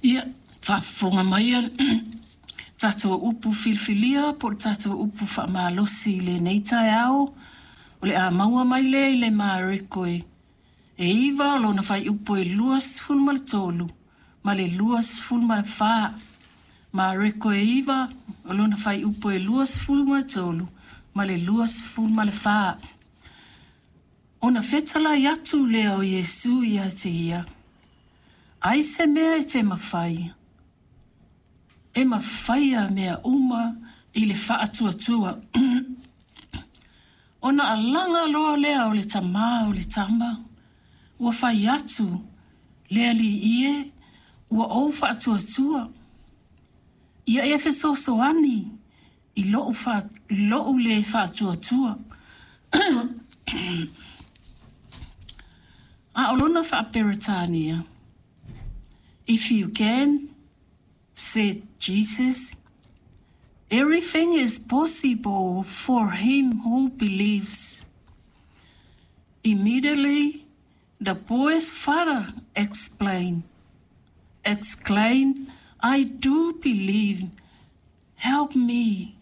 Ia, faafofoga mai a tatou upu filifilia po o le tatou upu faamalosi i lenei taeao, o le a maua mai lea i le Mareko e 9 lona fuaiupu e 23 ma le 24. Mareko e 9 o lona fuaiupu e 23 ma le 24. Ona fetalai atu lea o Iesu ia te ia, ai se mea e te mafai, e mafaia mea uma i le faatuatua. Ona alaga loa lea o le tamā o le tama, ua fai atu, le alii e, ua ou faatuatua. Ia e fesoasoani i lou, lou le faatuatua. A o lona faa-Peretania, if you can, said Jesus, everything is possible for him who believes. Immediately, the boy's father explained, exclaimed, I do believe. Help me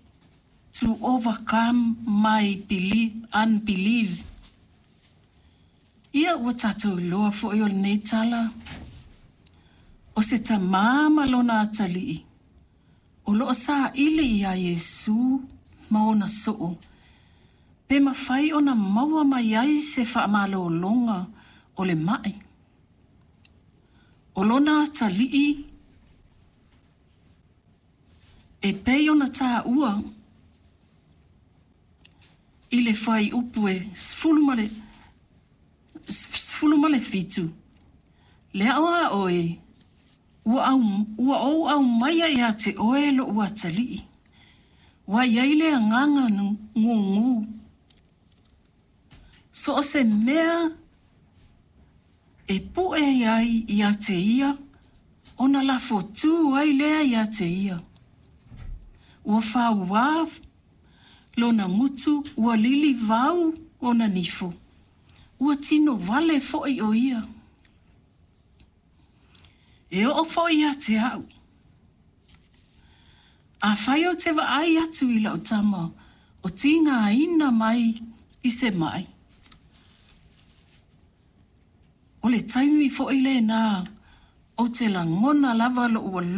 to overcome my belief, unbelief. Ia ua tatou iloa foi o lenei tala, o se tamā ma lona atalii, o loo saili iā Iesu ma ona soo, pe mafai ona maua mai ai se faamalologa o le mai. O lona atalii e pei ona taua i le fuaiupu e 17, le ao a oe, ua, au, ua ou aumaia ia te oe lou atalii. Ua i ai le agaga gugu. So o se mea e pue ai ia te ia, ona lafo tū ai lea ia te ia. Ua fauā lona gutu, ua lilivau ona nifo. Ua tino vale foi o ia. E oo foi ia te au. Afai ou te vaai atu i lau tama o tigaina mai i se mai. O le taimi foi lenā ou te lagona lava lou alofa.